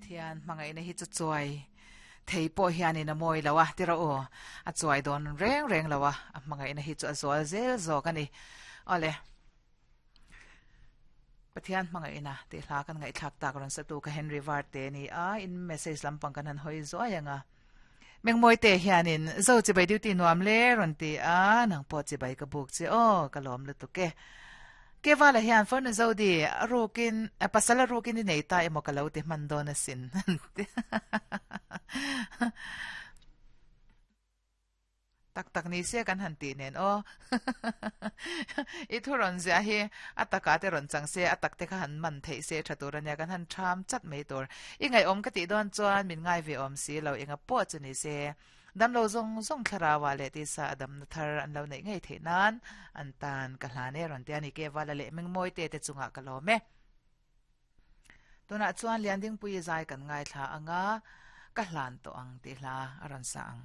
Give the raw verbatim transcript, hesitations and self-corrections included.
Pathian hmangaihna hi chu chuai thei pawh hianin a mawi lo a tira aw a chuai dawn reng reng lo a a hmangaihna hi chu a zual zel zawk a ni awle Pathian hmangaihna tih hla kan ngaihthlak tak rawn satu ka Henry Varte ni a in message lampang kan han hawi zuai anga Mengmawi te hianin zo chibai duty nuam le rawn ti a nang pawh chibai ka buk che aw ka lawm lutuk e Kevala hian phone zo di rukin pasala rukin i nei ta emaw ka lo ti hman dawn asin tak tak ni se kan han ti nen aw i thu rawn zia hi a taka te rawn chang se a tak te kha han man thei se tha tur ania kan han tham chat mai tur i ngai awm ka ti dawn chuan min ngai ve awm si lo enga pawh chu ni se damlo zong zong thlarawa leh ti sa adam na thar an lo nei ngei thei nan an tan ka hlane rawn te ani ke wala leh mengmawi te te chunga ka lawm e tuna chuan lianding pui zai kan ngai thla anga ka hlan to ang ti hla a rawn sa ang.